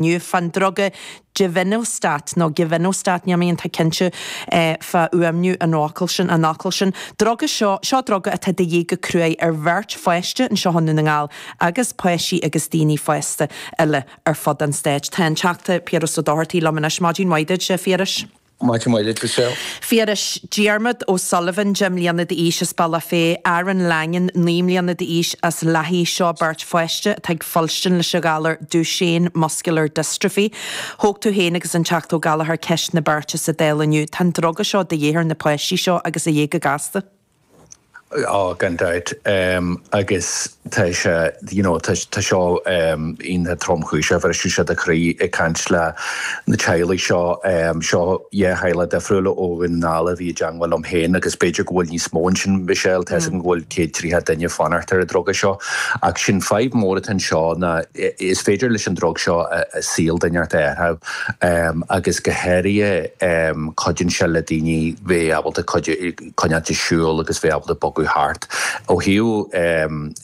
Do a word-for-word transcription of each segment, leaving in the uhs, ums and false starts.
Inniu fan druga Givinostat nó Givinostat níl mé iontach cinnte eh, fá fhuaimniú an fhocail sin an fhocail sin. Druga seo seo druga atá de dhíth go cruaidh ar bheirt pháiste anseo i nDún na nGall agus páistí agus daoine fásta eile ar fud an stáit. Tá an Teachta Piaras Ó Dochartaigh liom anois maidin mhaith duit Phiarais. Maidin mhaith Michelle. Phiarais Diarmuid O'Sullivan deich mbliana d'aois as Bealach Féich, Aaron Langan naoi mbliana d'aois as Lathaí seo beirt pháiste atá ag fuilstin leis an ghalar Duchenne muscular dystrophy. Thóg tú féin agus an Teachta Ó Gallchóir ceist na beirte sa Dáil inniu, Tá an druga seo de dhíth ar na páistí seo agus a dhíth go gasta. Á gan dabht um, agus tá sé you know, tá seo um, iontach tromchúiseach bhris sé do chroí ag caint le na teaghlaigh seo um, seo dhá theaghlach difriúla ó Dhún na nGall a bhí i dteagmháil liom féin agus b'fhéidir go bhfuil níos mó sin Michelle tá go bhfuil céad tríocha duine fanacht ar an druga seo ach sin fadhb mór atá seo ná is féidir leis an drug seo a saol duine a athrú um, agus go háirithe um, cuidíonn sé le daoine bheith ábalta coinneáil ag siúl agus bheith ábalta bogadh thart. Ó thaobh um,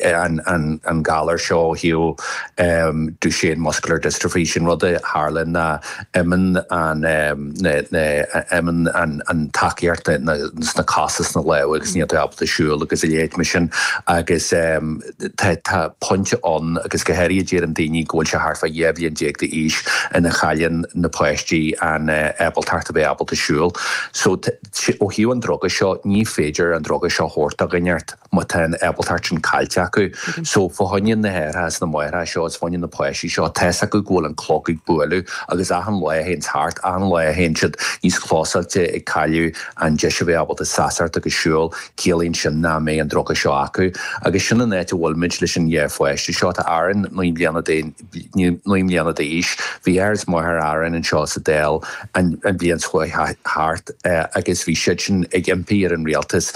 an, an, an galar seo ó thaobh um, Duchenne muscular dystrophy sin rud a tharlaíonn ná imíonn an um, na, na, imíonn an, an tacaíocht na, sna cosa sna lámha agus níl tú ábalta siúl agus a leithéid mar sin agus um, tá, tá pointe ann agus go háirithe deir an daoine go bhfuil sé thart fá dhá bhliain déag d'aois ina chailleann na páistí an uh, ábaltacht a bheith ábalta siúl. So ó thaobh an druga seo ní féidir an druga seo thabhairt do dhuine má tá an ábaltacht sin caillte acu. So fá choinne na hathar na máithreacha seo is fá choinne na páistí seo tá acu go bhfuil an clog ag bualadh agus achan lá a théann thart achan lá a théann siad níos closáilte ag cailleadh an deis a bheith ábalta seasamh agus siúl ciallaíonn sin nach mbeidh an druga seo acu. agus sin an áit a bhfuilimid leis an dhá pháiste seo tá Aaron naoi mbliana naoi mbliana d'aois, bhí athair is máthair Aaron anseo sa Dáil an bhliain seo thart agus bhí siad sin ag impí ar an rialtas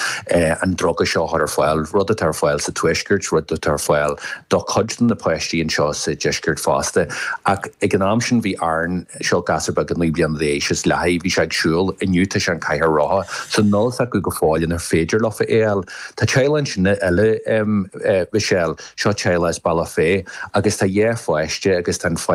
an druga seo ar fáil, rud atá ar fáil sa tuaisceart, rud atá ar fáil do chuid de na páistí anseo sa deisceart fosta. Ach ag an am sin bhí Aaron seo gasúr beag naoi mbliana d'aois as Lathaí bhí sé ag siúl inniu tá sé ar an chathaoir rotha, so níl fhios acu go fóill an féidir leo é a fháil. Tá teaghlach sin eile um, uh, Michelle seo teaghlach as Bealach Féich agus tá dhá pháiste agus tá an